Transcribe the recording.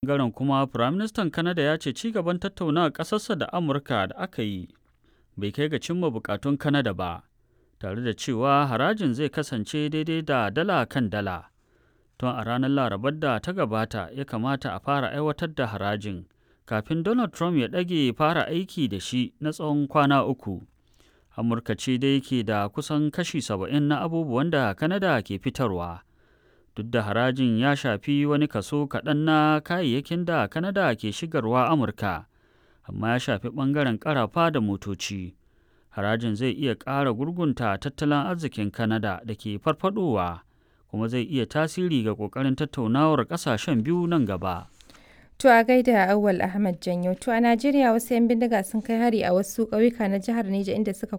Ɓangaren kuma, Firaministan Canada ya ce ci gaban tattaunawar ƙasarsa da Amurka da aka yi bai kai ga cimma buƙatun Canada ba, tare da cewa harajin zai kasance daidai da dala kan dala. Tun a ranar Larabar da ta gabata ya kamata a fara aiwatar da harajin, kafin Donald Trump ya ɗage fara aiki da shi na tsawon kwana uku. Amurka ce dai ke da kusan kashi 70 na abubuwan da Canada ke fitarwa. Duk da harajin ya shafi wani kaso kaɗan na kayayyakin da Canada ke shigarwa Amurka, amma ya shafi ɓangaren ƙarafa da motoci. Harajin zai iya ƙara gurgunta tattalin arzikin Canada da ke farfadowa, kuma zai iya tasiri ga ƙoƙarin tattaunawar ƙasashen biyu nan gaba. To a gaida Auwal Ahmad Janyo. To a Najeriya wasu 'yan bindiga sun kai hari a wasu ƙauyuka na jihar Neja inda suka